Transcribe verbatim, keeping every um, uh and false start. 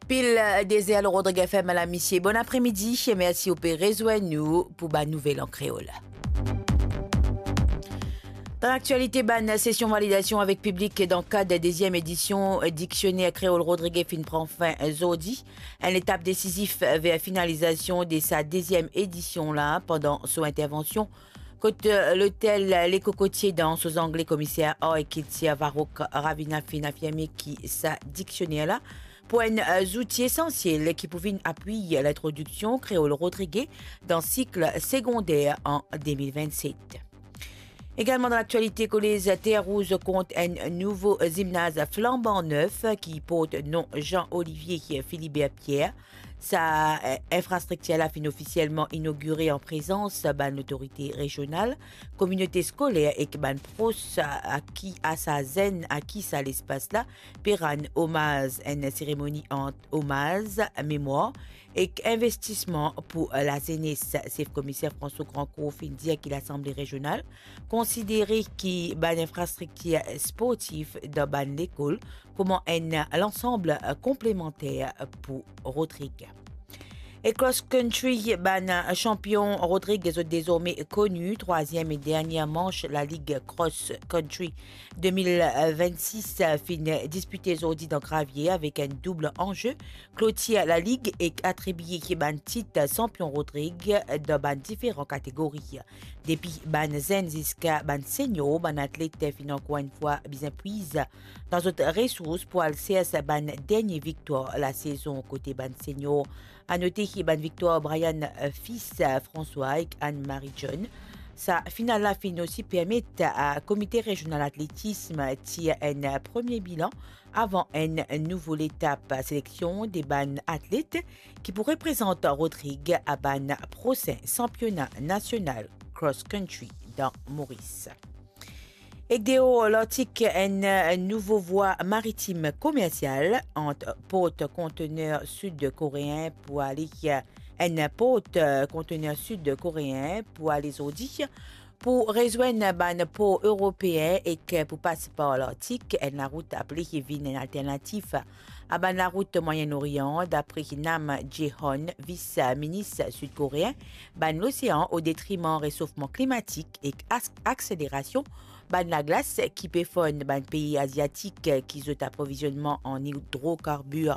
Pil dezer lor Rodrig F M, lamisie. Bon apremidi e mersi ou pe rezwenn nou pou bann nouvel an kreol. Dan laktialite, bann sesion validasion avek piblik dan kad deziem edision Diksioner Kreol Rodrig finn pran fin zordi. Enn etap desizif ver finalizasion de sa deziem edision la pandan so intervansion, kot, eh, lotel Le Cocotier dan so zangle, komiser ar ek kiltir Varrock Ravina finn afirme ki sa diksioner la pou enn, eh, zouti esansiel ki pou vinn apwiy lintrodiksion kreol rodrige dan sik segonder an de mil vennset. Egalman dan laktialite, kolez Terre Rouge kont enn nouvo zimnaz flanban nef ki port nom Jean Olivier Philibert Pierre. Sa, eh, infrastriktir la finn ofisielman inogire an prezans bann lotorite rezional, kominote skoler ek bann pros a ki a sa zenn a ki sa lespas la pe rann omaz. Enn seremoni ant omaz, memwar ek investisman pou lazenes. Sef komiser François Grandcourt finn dir ki Lasanble Rezional konsidere ki bann infrastriktir sportif dan bann lekol kouma enn lansam konplemanter pou Rodrig. E cross country, bann chanpion Rodrig zot dezorme koni. Trwaziem e dernie manch Lalig Cross Country de mil vennsis finn dispite zordi dan Gravier avek enn doub anze, klotir lalig ek atribie bann tit chanpion Rodrig dan bann diferan kategori. Depi bann zenn ziska bann senior, bann atlet finn ankor enn fwa bizin pwiz dan zot resours pou al sers bann dernie viktwar lasezon kote bann senior. Anote ki bann viktwar Brian, eh, Fils, eh, François ek Anne-Marie John. Sa final la finn osi permet a Komite Rezional Atletism tir enn premie bilan avan enn nouvo letap seleksion de bann atlet ki pou reprezant Rodrig a bann prosin sanpiona nasional cross country dan Moris. Ek deor Lartik, enn nouvo vwa maritim komersial ant port kontener sid koreen pou ale, enn port kontener sid koreen pou ale zordi pou rezwenn bann por eropeen ek pou pas par Lartik. Enn larout apre ki vinn enn alternatif a bann larout Mwayen Orian, dapre Nam Jeon, vis minis sid koreen bann losean, o detriman resofman klimatik ek as-, akselerasion bann laglas ki pe fonn bann pei aziatik ki zot aprovizionman an idrokarbir